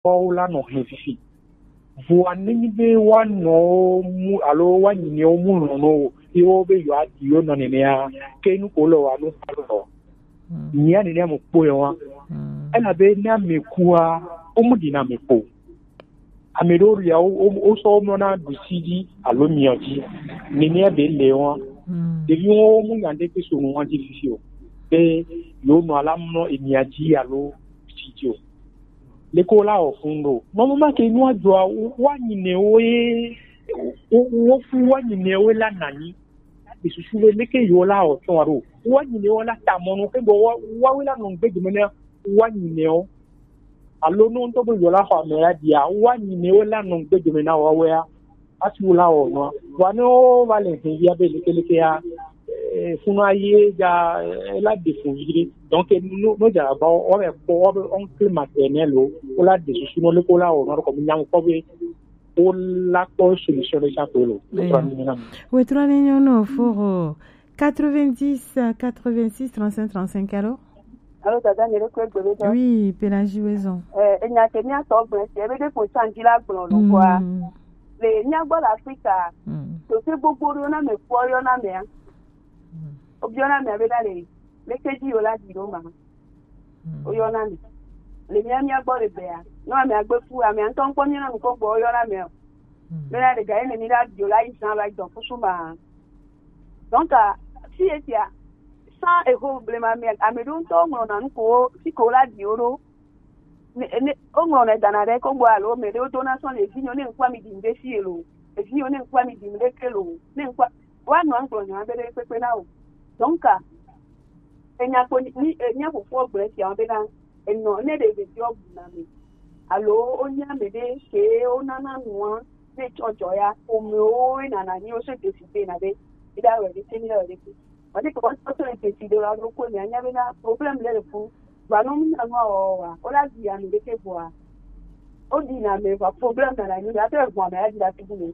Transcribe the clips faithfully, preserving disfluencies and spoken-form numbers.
kpɔwo la nɔ hɛn fifi. Vɔa nenyi be woanɔ wo mu alo woanyi nɛ wo mu lɔn no wo, ye wo be yewoaɖi wo nɔ nenea, ke nu ko le woa nu alo lɔ. Nyia nenea me kpɔe wa. Elabe ne ame kua, wo mu ɖina ame kpo. Ame ɖewo lia, wo, wo, wosɔ wo mlɔna ɖusi dzi alo miɔ dzi. Nenea be le wa. Ɖeviwo wo mu nya ɖe ke so nu wa dzi fifi o. Be yewo nɔ ala mlɔ emia dzi alo ɖusi dzi o. Leke wo la wɔ fun ɖo? Mɔmɔ ma ke nua dzɔa, wo, woanyi nɛ wo ye, wo, wo fu woanyi nɛ wo la nanyi. Be susu be leke yewo la wɔ tsɔ wa ɖo? Woanyi nɛ wo la ta mɔ no ke gbɔ wa, wa wo la nɔ gbe dome na woanyi nɛ wo. Alo no ŋutɔ be yewo la xɔ ame la dia, woanyi nɛ wo la nɔ gbe dome na wa wo ya. Asi wo la wɔ nua. Wa ne wo va le hɛn ya be leke leke ya, eh, funu aye ja, eh, la de fun vi ɖe. Donc, no, no ja ba wo be kpɔ wo be oncle maternel o, wo la de susu no leke wo la wɔ nua ɖo kɔ mi nya ŋkɔ be wo la kpɔ solution ɖe sia ko lo. Eya. Wetrɔ ni nyɔ nɔ foro quatre-vingt-dix, quatre-vingt-six, trente-cinq, trente-cinq, allô? Allô, dada, mi ɖo kpe gbe ɖo. Oui, Pélagie Wezon. Eh, enya ke mia tɔ gblẽ, si ebe ɖe ko tsanji la gblɔ lo kɔa. Le mia gbɔ le Afrika, to se gbogbo ɖo na me kpɔ yɔ na mea. Obiɔ na mea be da le, le ke ji yo la di ɖo ma. Oyɔ na mi. Le mia, mia gbɔ le bea. No ame agbe fu, ame ŋutɔ ŋkpɔ mi na mi kɔ gbɔ oyɔ na mi o. Bena ɖe ga ye ne mi la dzo la yi zan la dɔ kusu ma. Donc, ah, si etia, sans eho blema me, ame ɖo ŋutɔ ŋlɔ na nu ko, si ko la di o ɖo. Ne, ne, o ŋlɔ ne dana ɖe ko gbɔ alo me ɖe o do na sɔn le vi nyo ne ŋkpɔ mi di ŋde si elo. Evi nyo ne ŋkpɔ mi di ŋde ke lo. Ne ŋkpɔ, wa nɔ ŋgblɔ nya be ɖe kpekpe na o. Donc, ah, enya kpo ni, ni, eh, mía fofowo gblɔe fia bena, enɔ ne ɖe ɖeviwo bu na me. Alo wonye ame ɖe ke wonana nua, ne tsɔ dzɔ ya, ƒomewo nana nyi wo se desi be na be, mi ɖa wɛ ɖe te, mi ɖa wɛ ɖe te. Wani ke wɔn tɔ le desi ɖe la ɖo ko mi anya bena, problème le le fu. Ba no mi na nua wɔ wa, o la di ame ɖe ke bua. O di na me va problème nana nyi, ya te vo ame ya di la tugu me.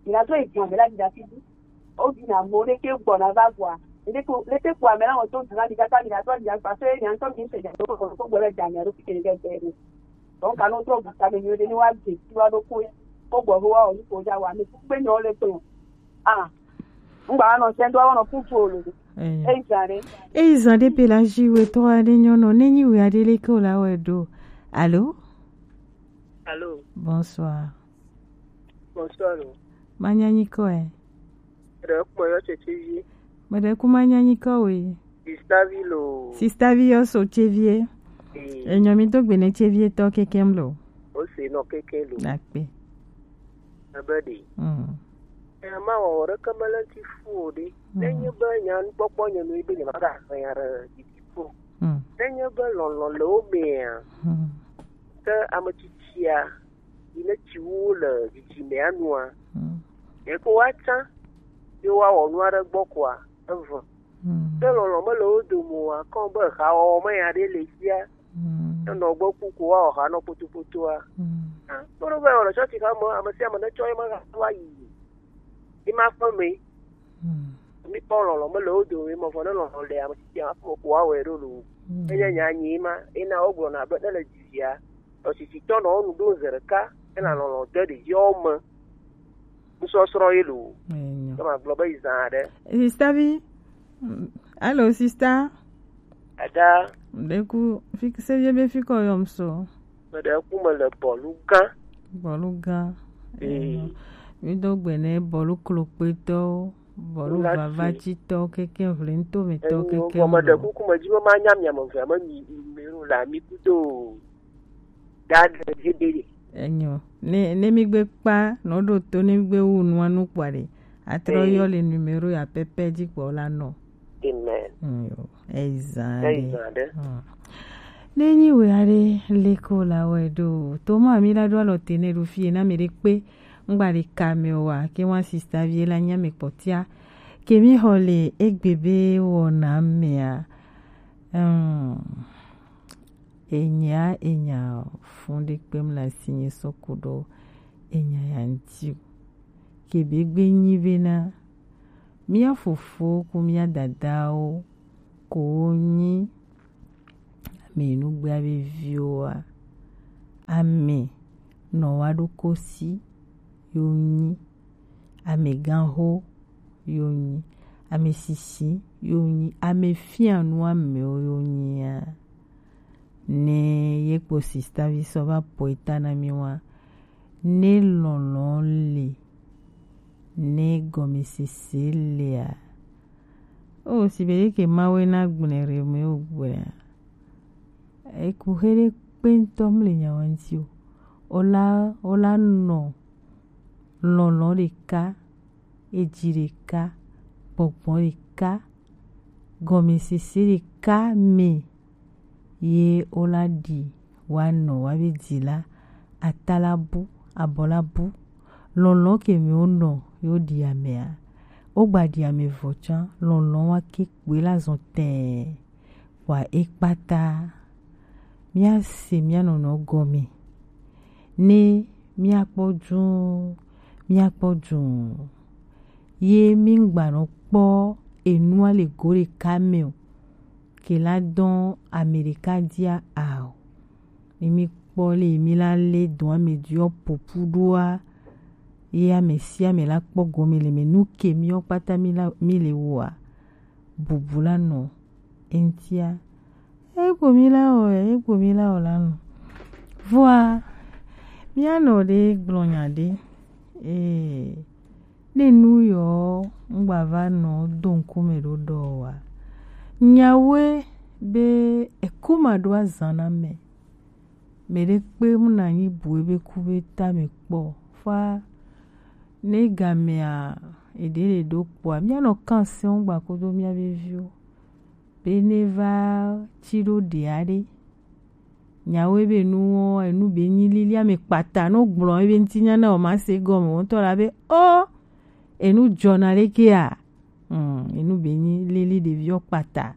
Mi na to e vo ame la di la tugu. Wo ɖi na mo ɖe ke gbɔna va vɔa. Ɖe ko le te ko ame la wo to duna mi kaka mi na tɔ dina gba se nya ŋutɔ mi se nya to ko ko gbɔ le dza nya ɖo fi ke ke ke. Donc ka no trɔ bu ta me nyo ɖe ni wa de ti wa ɖo ko ko gbɔ ho wa o ni ko ja wa me ku gbe nyo le to. Ah. Ngba no se ndo wa no fu fu o lo. Eyi zan ɖe. Eyi zan ɖe Pélagie wetɔ aɖe nyɔnɔ ne nyi wɛ aɖe le ke o la wɛ ɖo. Allô? Allô? Bonsoir. Bonsoir. Manya nyikɔe. Ɖe kpɔ yɔ tsɛtsɛvi. Meɖe ku manya nyikɔe. Sistavi lo. Sistavi yɔ so tsɛvie. Ee. Enyɔ mi do gbe ne tsɛvie tɔ kekem lo. O se nɔ keke lo. Akpe. Ebe ɖe. Mm. Ema wɔwɔ ɖeke mele ŋuti fu o ɖe. Mm. Nenye be nya nukpɔkpɔ nye nu be nye ma ga nya ɖe didi ko. Mm. Nenye be lɔlɔ̃ le wo mea, mm, ke ame tsitsia yi ne tsi wo le dzidzimea nua, mm, ye ko woatsã ye woawɔ nu aɖe gbɔ koa, evɔ. Mm. Ke lɔlɔ̃ mele wo dome o, akɔ be hawɔwɔ me ya ɖe le fia. Mm. Enɔ gbɔ ku ko woawɔ ha nɔ kpotopotoa. Mm. Ah, kpɔ ɖo be wòle tsɔtsi hame, ame sia ame netsɔ ye me ha va yi. Ye ma ƒe me. Mm. Mi kpɔ lɔlɔ̃ mele wo dome, mɔ vɔ ne lɔlɔ̃ le ame tsitsia ma ƒe me ko woawɔe ɖo lo. Mm. Enye nya nyi ma, ena wogblɔna be ne le dzivia, tɔsisi tɔ nɔ nu ɖo zi ɖeka, ena lɔlɔ̃ de ɖeviawo me. Nusɔsrɔ̃ ye lo. Enyo. Ke magblɔ be yi zã aɖe. Sistavi. Mm, alo, sista. Ada. Ɖeku, fi, se vie be fi kɔ yɔm so. Meɖe ku me le bɔlu gã. Bɔlu gã. Ee. Enyo. Mi do gbe ne bɔlu klokpetɔwo, bɔlu vavatitɔwo, keke ʋlintɔmetɔwo, keke. Meɖe kuku me dzi be manya mia me evea me mi, mi, mi la mi kudo. Dade Zebede. Enyo. Ne, ne mi gbe kpa, no ɖo to, ne mi gbe wu nua nu kpɔa ɖe, atrɔ yɔ le numéro ya pɛpɛ dzi kpɔ la nɔ. Amen. Enyo. Eyi zã ɖe. Eyi zã ɖe. Hmm. Ne nyi wɛ aɖe le ko la wɛ ɖo. To ma mi la ɖo alɔ te ne ɖo fie na mi ɖe kpe. Ŋgba ɖe ka me wa, ke wa sista vie la nya me kpɔtia. Ke mi xɔ le egbe be wɔna mea. Hmm. Enya, enya fun ɖe kpem le asinye sɔ ku ɖo enya ya ŋuti o. Ke be gbe nyi bena mía fofo ku mía dadawo ko wo nyi ame nugbea be viwoa, Ame nɔ wa ɖo kosi yo nyi, ame ganho yo nyi, ame sisi yo nyi, ame fianu amewo yo nyi a. Ne ye kpo sista vi sɔ va po eta na mi wa, ne lɔlɔ le, ne gɔmesese le a. O si be ke mawe na gblẽ re me o gblẽ a. Eku he ɖe kpe ŋutɔ mle nyawa ŋuti o. Ola ola nɔ lɔlɔ ɖeka, eji ɖeka, gbɔgbɔ ɖeka, gɔmesese ɖeka me ye wola ɖi wa nɔ wa be dzi la, ata la bu, abɔ la bu, lɔlɔ ke me wonɔ yo ɖi amea, wogba ɖi ame vɔ tsã, lɔlɔ wa ke kpoe la zɔn tɛɛ, wa e kpata. Míase mía nɔnɔ gɔme. Ne míakpɔ juun, míakpɔ juun. Ye míŋgbanɔ kpɔ enua le go ɖeka me o. Ke la dɔn ame ɖeka dia ao. Ne míkpɔ le mi la le dɔn ame diɔ popu ɖoa, ye ame sia ame la kpɔ gɔme le me nu ke míɔ kpata mi la mi le woa, bubu la nɔ eŋtia. Egbo mi la wɔ, egbo mi la wɔ la nɔ. Vɔa, mía nɔ ɖe gblɔ nya ɖe. Ee, ne nu yɔ ŋgba va nɔ do ŋkume ɖo ɖɔ wa. Nyawoe be ekuma ɖo azan na me. Mɛ ɖe kpe mu na nyi bu ebe ku be ta me kpɔ. Fa ne gamea eɖe le ɖo kpɔa, mía nɔ kan sɛn ŋgba kodo mía be viwo. Be ne va tsi ɖo ɖia ɖe. Nyawo ebe nu wɔ, enu be nyi lili ame kpata, no gblɔ ebe ŋti nya na o ma se gɔme, wo ŋutɔ la be, o, enu dzɔna ɖe ke a? Hmm, enu be nyi lili ɖeviwo kpata.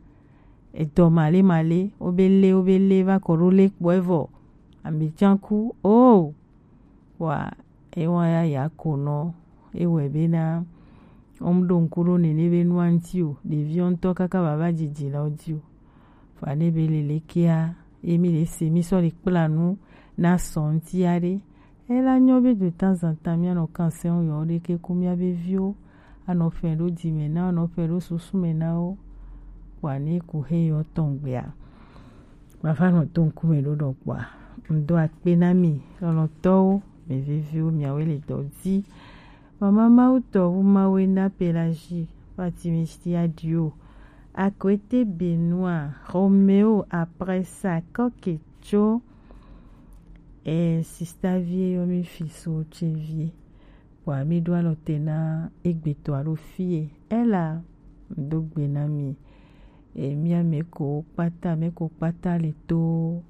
Edɔ male male, wo be le, wo be le va kɔ ɖo le kpɔ evɔ. Ame tsanku, o. Wa ewa ya ya ko nɔ, ewɛ be na, wɔm ɖo ŋku ɖo nene be nua ŋti o, ɖeviwo ŋutɔ kaka baba dzidzi la wo di o. Fa ne be le lekea, ye mi le se, mi sɔ le kpla nu na sɔ ŋti ya ɖe. Ela nyɔ be de temps en temps mía nɔ kan sɛn yɔ ɖe ke ku mía be viwo, anɔ fɛn ɖo dzi me na, anɔ fɛn ɖo susu me na wo. Wa ne ku he yɔ tɔn gbea. Mava nɔ do ŋkume ɖo ɖɔ kpɔa, ŋdo akpe na mi, lɔlɔ̃tɔwo, mi viviwo, miawoe le dɔ di. Mama Mawu tɔwu Mawu ena Pelagie, Fatimi Sia Dio, Akwete Benoit, Romeo, après ça, Kɔke tso, eh, sista vie yɔ mi fi so tse vie. Kpɔa mi ɖo alɔ te na egbetɔ alo fie. Ela do gbe na mi. E mía mɛ ko kpata, mɛ ko kpata le to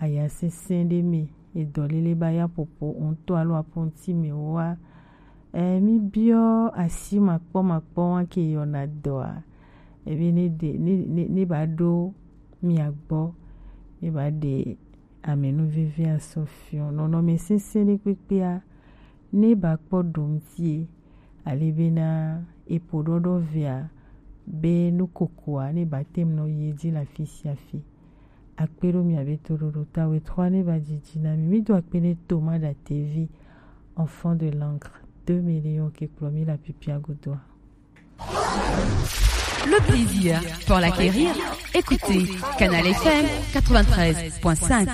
aya sɛsɛ ɖe me, edɔ lele ba ya popo ŋutɔ alo apɔnti me wa. E mi biɔ asi makpɔ makpɔ wa ke yɔna dɔa. Ebe ne de ne ne ne ba ɖo mia gbɔ, ne ba ɖe amenu veve asɔ fiɔ. Nɔnɔme sɛsɛ ɖe kpekpea, ne ba kpɔ ɖom tie, ale bena epo ɖɔɖɔ vea, be nukokoa ne ba tem nɔ yi edzi le afi sia afi. Akpe ɖo mia be toɖoɖo ta wetɔ ne ba dzidzi na mi. Mi do akpe ne Thomas Datevi, enfant de l'encre, deux millions ke kplɔ mi le apipia godoa. Le plaisir pour l'acquérir, écoutez Canal F M quatre-vingt-treize point cinq.